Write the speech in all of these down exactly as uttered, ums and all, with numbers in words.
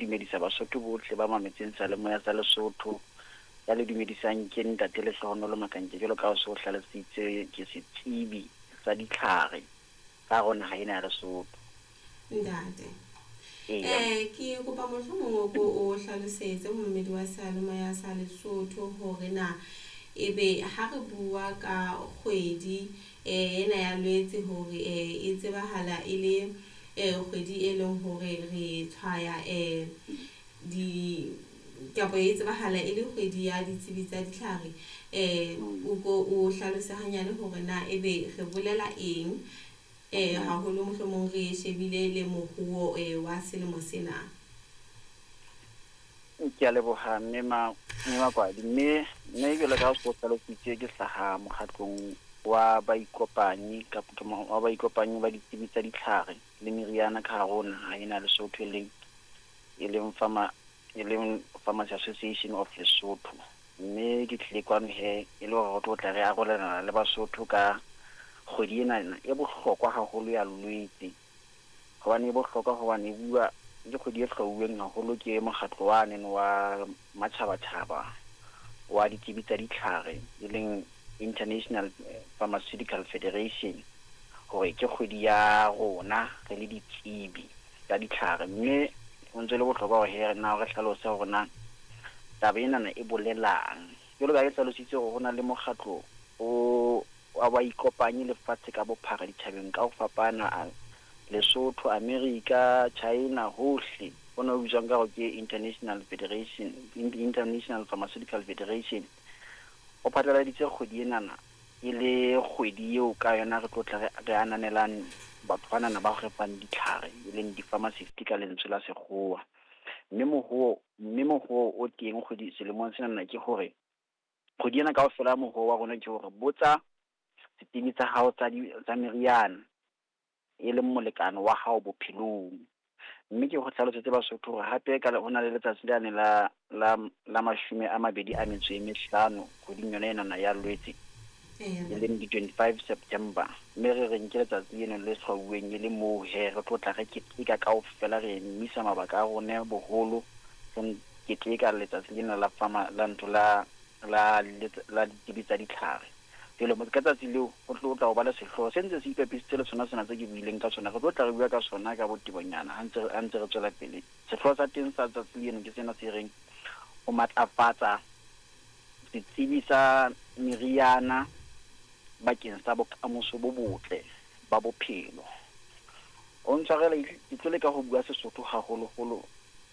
Dumedisa Basotho bohle ba mametseng seyalemoya sa Lesotho. Ya le dumedisang ke ntate Lehlohonolo Makanke, jwalo ka ha o so hlalositse, ke setsebi sa ditlhare ka hare ho naha ena ya Lesotho. Ntate. Eya. Eh ke kopa mohlomong o ko o hlalosetse mommedi wa seyalemoya sa Lesotho hore na ebe ha re bua ka kgwedi eh ena ya Lwetse hore eh e tsebahala e le eh kgwedi e leng hore re tshwaya eh di kapa e tsebahala e le kgwedi ya ditsebi tsa ditlhare. Eh o ko o hlalose hanyane hore na ebe re bolela eng eh haholo mohlomong re shebile le moruo eh wa selemo sena. Ke a leboha mme ma mme Makwadi, mme mme jwalo ka ha o so hlalositse, ke hlaha mokgatlong wa baikopanyi kapa wa baikopanyi ba ditsebi tsa ditlhare le meriana ka hare ho naha ena ya Lesotho, e leng e leng Pharma e leng Pharmacy Association of Lesotho. Mme ke tlile kwano he e le hore re tlo tla re arolelana le Basotho ka kgwedi ena e bohlokwa haholo ya Lwetse. Hobane e bohlokwa hobane e bua ke kgwedi e hlwauweng haholo ke mokgatlo wane wa matjhabatjhaba wa ditsebi tsa ditlhare, e leng International Pharmaceutical Federation, hore ke kgwedi ya rona re le ditsebi tsa ditlhare. Mme ho ntse le bohlokwa hore he na re hlalose hore na taba enana e bolelang. Jwalo ka ha ke hlalositse hore ho na le mokgatlo o wa baikopanyi lefatshe ka bophara ditjhabeng ka ho fapana, Lesotho, America, China, hohle. Hona ho bitswang ka hore ke International Federation, International Pharmaceutical Federation. O phatlaladitse kgwedi enana e le kgwedi eo ka yona re tlo tla re, re ananelang batho banana ba re fang ditlhare, e leng di-pharmacist ka lentswe la sekgowa. Mme mohoo mme mohoo o teng kgwedi selemong senana ke hore kgwedi ena kaofela mohoo wa rona ke hore botsa setsebi sa hao tsa di tsa meriana e leng molekane wa hao bophelong. Mme ke go hlalosetse Basotho hore hape ka ho na le letsatsi lane la la la mashome a mabedi a metso e mehlano kgweding yona enana ya Lwetse, e leng di twenty-five September. Mme re reng ke letsatsi leno le hlwauweng e le moo he re tlo tla re keteka kaofela, re emisa mabaka a rona boholo, re keteka letsatsi lena la pharma la ntho la la la ditsebi tsa ditlhare. Jwale ka tsatsi leo ho tlo tla ho ba le sehlooho se ntse se ipapisitse le sona sena tse ke buileng ka sona. Re tlo tla re bua ka sona ka botebonyana ha ntse ha ntse re tswela pele. Sehlooho sa teng sa tsatsi leno ke sena se reng ho matlafatsa setsebi sa meriana bakeng sa bokamoso bo botle ba bophelo. O ntshwarele, ke tlo leka ho bua Sesotho haholoholo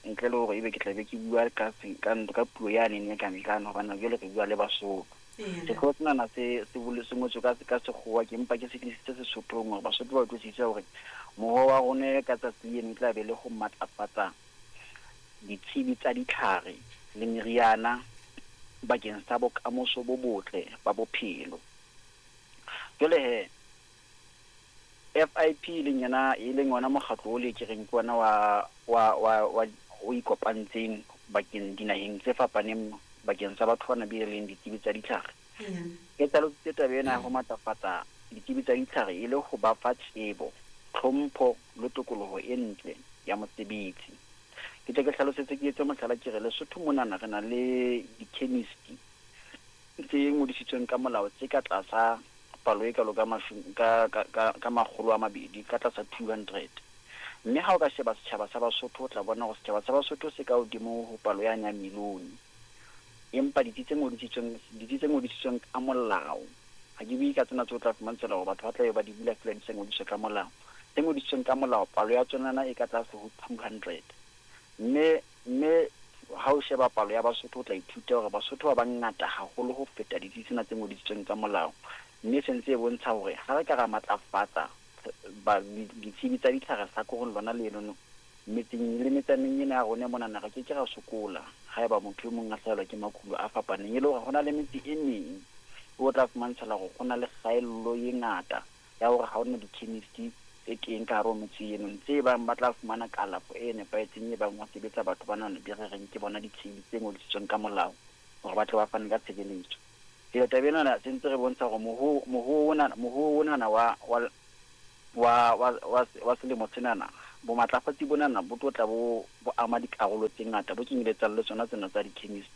ntle le hore ebe ke tla be ke bua ka ka ka puo yane e ka ntlana, hobane jwale re bua le Basotho. Sehlooho senana se se bole se ngotswe ka ka sekgowa, ke mpa ke se tlisitse Sesothong hore Basotho ba utlwisise hore mohoo wa rona ka tsatsi leno e tla be le ho matlafatsa ditsebi tsa ditlhare le meriana bakeng sa bokamoso bo botle ba bophelo. Jwale he F I P e leng yona e leng yona mokgatlo o le ke reng ke ona wa wa wa wa o ikopantseng bakeng dinaheng tse fapaneng bakeng sa batho bana be leng ditsebi tsa ditlhare. Ke hlalositse taba ena ya ho matlafatsa ditsebi tsa ditlhare e le ho ba fa tsebo, tlhompho le tokoloho e ntle ya mosebetsi. Ke tle ke hlalosetse, ke etse mohlala, ke re Lesotho monana re na le di-chemist tse ngodisitsweng ka molao tse ka tlasa palo e kalo ka mashome ka ka ka ka makgolo a mabedi, ka tlasa two hundred. Mme ha o ka sheba setjhaba sa Basotho, o tla bona hore setjhaba sa Basotho se ka hodimo ho palo yane ya milione. Empa ditsi tse ngodisitsweng ditsi tse ngodisitsweng ka molao, ha ke bue ka tsena tse o tla fumantshela hore batho ba tla be ba di bula feela di sa ngodiswa ka molao. Tse ngodisitsweng ka molao palo ya tsona e ka tlase ho two hundred. Mme mme ha o sheba palo ya Basotho o tla ithuta hore Basotho ba bangata haholo ho feta ditsi tsena tse ngodisitsweng ka molao. Mme se ntse e bontsha hore ha re ka ra matlafatsa ba ditsebi tsa ditlhare hlakoreng lona lenono metseng le metsaneng ena ya rona monana, re ke ke ra sokola haeba motho e mong a hlahelwa ke makulo a fapaneng. E le hore ho na le metse e meng o tla fumantshela hore ho na le kgaello e ngata ya hore ha hona di-chemist tse teng ka hare ho metse eno tse bang ba tla fumana kalafo e nepahetseng, e bang ho sebetsa batho bana be re reng ke bona ditsebi tse ngodisitsweng ka molao hore ba tle ba fane ka tshebeletso. Jwale taba enana se ntse re bontsha hore mohoo mohoo ona mohoo onana wa wa wa wa wa selemo senana Bomatlafatsi bonana bo tlo tla bo bo ama dikarolo tse ngata, bo kenyeletsang le tsona tsena tsa di-chemist.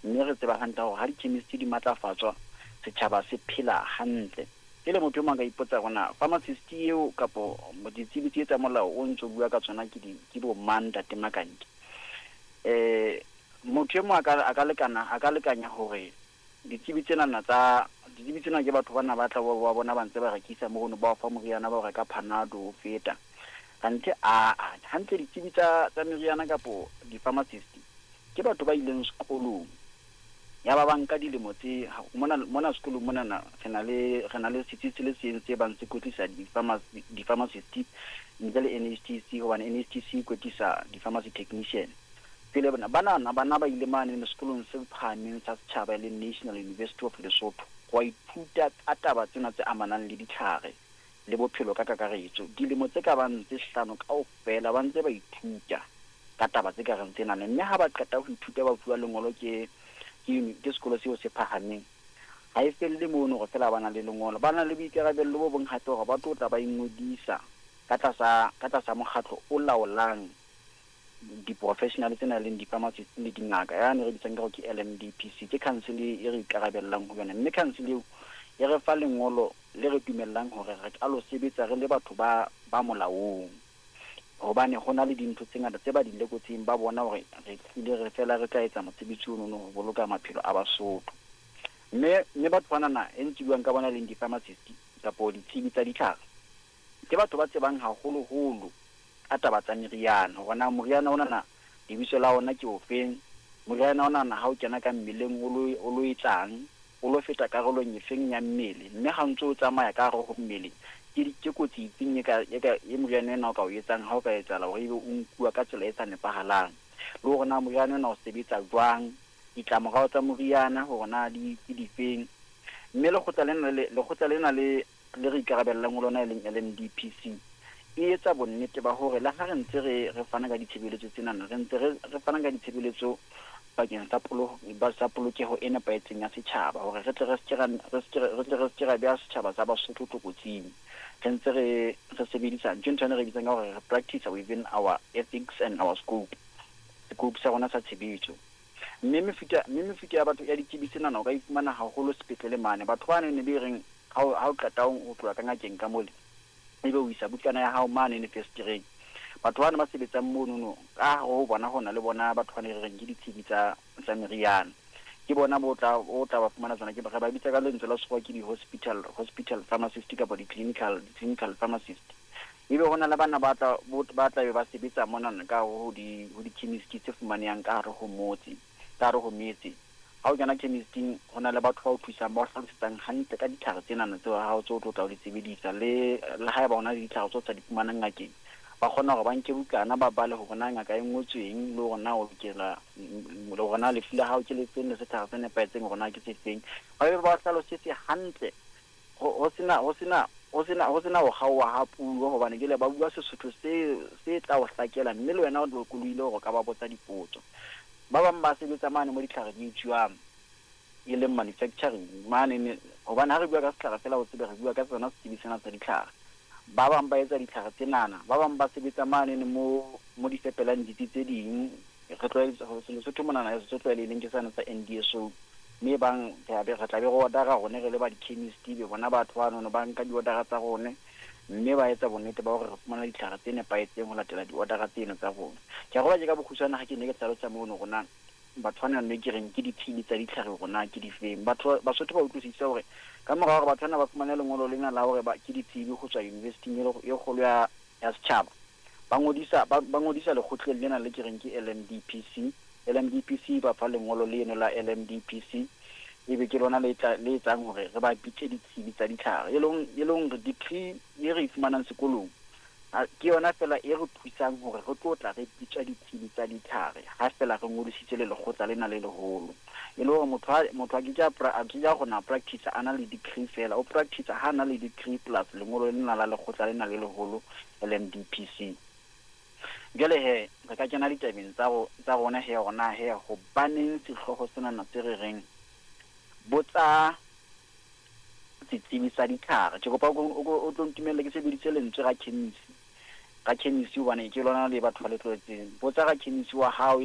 Mme re tseba hantle hore ha di-chemist di matlafatswa, setjhaba se phela hantle. Pele motho e mong a ka ipotsa hore na pharmacist eo kapo ditsebi tse tsa molao o ntso bua ka tsona ke di ke bo mang, ntate Makanke. Eh motho e mong a ka a ka lekana a ka lekanya hore ditsebi tsenana tsa ditsebi tsena ke batho bana ba tla ba ba bona ba ntse ba rekisa mono, ba o fa moriana, ba o reka Panado o feta. Kanthe a a hantle ditsebi tsa tsa meriana kapo di-pharmacist ke batho ba ileng sekolong. Ya ba ba nka dilemo tse mona mona sekolong monana re na le re na le setsi se le seng se bang se kwetlisa di-pharmacy di-pharmacist ntle le N H T C, hobane N H T C e kwetlisa di-pharmacy technician. Pele bona banana bana ba ile mane sekolong se phahameng sa setjhaba e leng National University of Lesotho ho ithuta ka taba tsena tse amanang le ditlhare le bophelo ka kakaretso. Dilemo tse ka bang tse hlano kaofela ba ntse ba ithuta ka taba tse ka reng tsena, mme ha ba qeta ho ithuta ba fuwa lengolo ke ke ke sekolo seo se phahameng. Ha e felle mono hore feela ba na le lengolo, ba na le boikarabello bo bong hape hore ba tlo tla ba ingodisa ka tlasa ka tlasa mokgatlo o laolang di-professional tsena leng di-pharmacist le dingaka, yane re bitsang ka hore ke L M D P C, ke council e re ikarabellang ho yona. Mme council eo e re fa lengolo le re dumellang hore re ka lo sebetsa re le batho ba ba molaong, hobane ho na le dintho tse ngata tse ba di lekotseng, ba bona hore re tlile re fela re tla etsa mosebetsi ono ho boloka maphelo a Basotho. Mme mme batho banana e ntse buang ka bona leng di-pharmacist kapo ditsebi tsa ditlhare ke batho ba tsebang haholoholo ka taba tsa meriana, hore na moriana onana lebitso la ona ke ofeng, moriana onana ha o kena ka mmeleng o lo o lo etsang, o lo feta karolong efeng ya mmele, mme ha ntse o tsamaya ka hare ho mmele ke ke kotsi efeng e ka e ka e moriana ena o ka o etsang ha o ka etsahala hore ebe o nkuwa ka tsela e sa nepahalang, le hore na moriana ona o sebetsa jwang, ditlamorao tsa moriana hore na di ke difeng. Mme lekgotla lena le lekgotla lena le le re ikarabellang ho lona e leng L M D P C e etsa bonnete ba hore le ha re ntse re re fana ka ditshebeletso tsenana, re ntse re re fana ka ditshebeletso bakeng sa polo ba sa polokeho e nepahetseng ya setjhaba, hore re tle re ske ra re ske re tle re ske ra beha setjhaba sa Basotho tlokotsing. Re ntse re re sebedisa ntho ena re bitsang ka hore re practice within our ethics and our scope, scope sa rona sa tshebetso. Mme mefuta mme mefuta ya batho ya ditsebi tsenana o ka ifumana haholo sepetlele mane. Batho ba ne be reng ha o ha o qeta ho tloha ka ngakeng ka mole, ebe o isa bukana ya hao mane ne festereng. Batho bana ba sebetsang mono ka hare ho bona hona le bona batho ba ne re reng ke ditsebi tsa tsa meriana, ke bona bo tla o tla ba fumana tsona, ke ba ba bitsa ka lentswe la sekgowa ke di-hospital hospital pharmacist kapa di-clinical clinical pharmacist. Ebe hona le bana ba tla ba tla be ba sebetsa mona ka ho di ho di-chemist tse fumanehang ka hare ho motse, ka hare ho metse. Ha o kena chemisting ho na le batho ba o thusang, ba o hlalosetsang hantle ka ditlhare tsenana tseo ha o tso tlo tla o di sebedisa, le le haeba hona le ditlhare tseo sa di fumanang ngakeng, ba kgona hore ba nke bukana ba bale hore na ngaka e ngotsweng, le hore na o lokela le hore na lefu la hao ke le feng, le setlhare se nepahetseng hore na ke se feng. Ba be ba hlalosetse hantle ho sena ho sena ho sena ho sena ho kgaoha ha puo, hobane ke le ba bua Sesotho se se tla o hlakela, mme le wena o lokolohile hore o ka ba botsa dipotso. Ba bang ba sebetsa mane mo ditlhare di etsuwang e leng manufacturing mane, hobane ha re bua ka setlhare fela o tsebe re bua ka tsona setsebi sena sa ditlhare. Ba bang ba etsa ditlhare tsenana, ba bang ba sebetsa mane mo mo di fepelang ditsi tse ding. Re tlwaetse Lesotho monana se tlwaelehileng ke sane sa N D S O, mme bang re be re tla be re order-a rone re le ba di-chemist, be bona batho banono ba nka di-order-a tsa rone, mme ba etsa bonnete ba hore re fumana ditlhare tse nepahetseng ho latela di-order-a tseno tsa rona. Ke a roba tje ka bokgutshwane ha ke ne ke hlalosa mono rona batho bana ne ke reng ke ditsebi tsa ditlhare rona ke difeng. Batho Basotho ba utlwisisa hore ka mora hore batho bana ba fumane lengolo lena la hore ba ke ditsebi ho tswa university-ing e kgolo ya ya setjhaba, ba ngodisa ba ngodisa lekgotleng lena le ke reng ke L M D P C. L M D P C ba fa lengolo leno la L M D P C, ebe ke lona le tla le etsang hore re ba bitse ditsebi tsa ditlhare, e leng e leng re degree e re e fumanang sekolong ke yona fela e re thusang hore re tlo tla re bitswa ditsebi tsa ditlhare ha fela re ngodisitse le lekgotla lena le leholo. E le hore motho motho a ke a a ke a kgona practice a na le degree fela, o practice ha na le degree plus lengolo lena la lekgotla lena le leholo L M D P C. Jwale he re ka kena ditabeng tsa tsa rona he rona he hobaneng sehlooho sena se re reng botsa setsebi sa ditlhare. Ke kopa o tlo ntumelle ke sebedise lentswe ra chemist. Rakhemisi, hobane ke lona le batho ba le tlwaetseng. Botsa rakhemisi wa hao e le